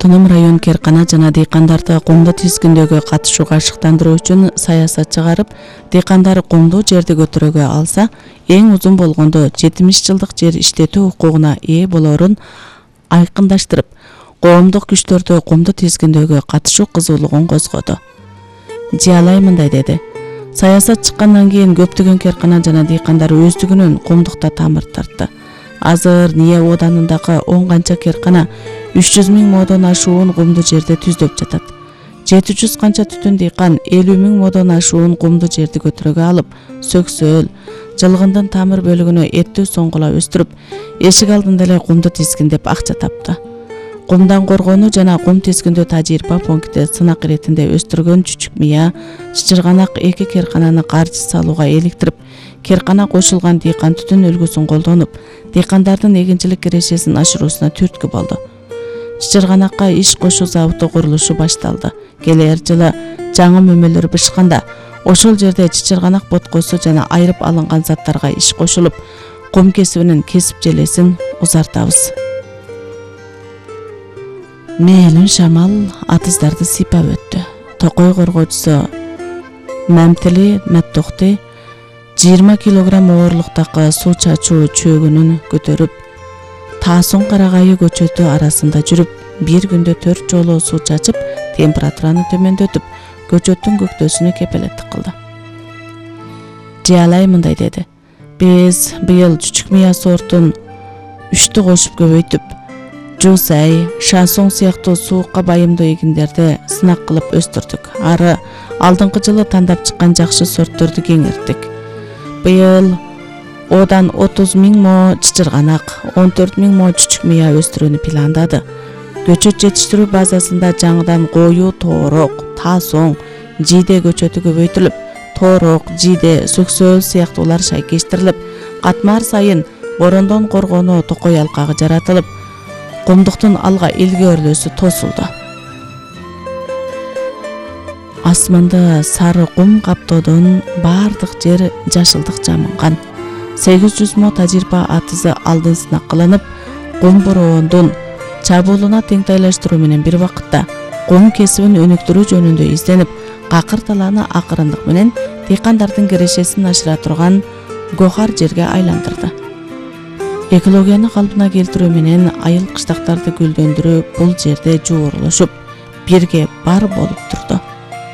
Автоном район керкана жана дыйкандарды кумду тизгиндөөгө катышууга ашыктандыруу үчүн саясат чыгарып, дыйкандар кумду жерди көтөрүүгө алса, эң узун болгондо 70 жылдык жер иштетүү укугуна ээ болоорун айкындаштырып, коомдук күчтөрдү кумду тизгиндөөгө катышуу кызуулугун козгоду. Жиялай мындай деди: саясат чыккандан кийин көптөгөн керкана жана дыйкандар өздүгүнөн кумдукта тамыр тартты. Азыр НИЭ оданындагы 10 канча керкана 300 000 модон ашуун кумду жерде түздөп жатат. 700 канча түтүн дыйкан 50 000 модон ашуун кумду жерди көтөрүүгө алып, сөксөөл, жылгындын тамыр бөлүгүнө эттүү соңгула өстүрүп, эшик алдында эле кумду тизгиндеп акча тапты. Кумдан коргонуу жана кум тизгиндөө тажрыйба пункти сынак иретинде өстүргөн Чүчүк Мыя, Чычырганак 2 керкананы каржы салууга иликтирип, керкана кошулган дыйкан түтүн үлгүсүн колдонуп, дыйкандардын эгинчилик кирешесин ашыруусуна түрткү болду. Чычырганакка иш кошуу заводу курулушу башталды. Келер жылы жаңы мөмөлөр бышканда, ошол жерде Чычырганак боткосу жана айрып алынган заттарга иш кошулуп, кум кесибинин кесип желесин узартабыз. Мээлин шамал атыздарды сыйпап өттү. Токой коргоочусу Мамтили Маттохти 20 килограмм оорлуктагы суу чачуу чөгүнүн көтөрүп, Таасон Карагайы көчөтү арасында жүрүп, бир күндө 4 жолу суу чачып, температураны төмөндөтүп, көчөттүн көктөсүнө кепелеттик кылды. Жиялай мындай деди: биз быйыл Чүчүк Мыя сортун 3тү кошуп көбөйтүп, Жусай, Шансоң сыяктуу суукка байымдуу эгиндерди сынак кылып өстүрдүк. Ары алдыңкы жылы тандап чыккан жакшы сортторду кеңирттик. Быйыл одан 30 000 мо Чычырганак, 14 000 мо Чүчүк Мыя өстүрүүнү пландады. Көчөт жетиштирүү базасында жаңыдан кою, тоорок, таасоң, жийде көчөтү көбөйтүлүп, тоорок, жийде, сөксөөл сыяктуулар шайкештирилип, катмар сайын борондон коргонуу токой алкагы жаратылып, кумдуктун алга илгөрлөөсү тосулду. Асманды сары кум каптоодон бардык жер жашылдык жамынган. 800 мо тажрыйба атызы алдын сынак кылынып, кум бороондун чабуулуна теңтайлаштыруу менен бир убакытта кум кесибин өнүктүрүү жөнүндө изденип, какыр талааны акырындык менен дыйкандардын кирешесин ашыра турган гохар жерге айландырды. Экологияны калпына келтирүү менен айыл кыштактарды гүлдөндүрүү бул жерде жуурулушуп, бирге бар болуп турду.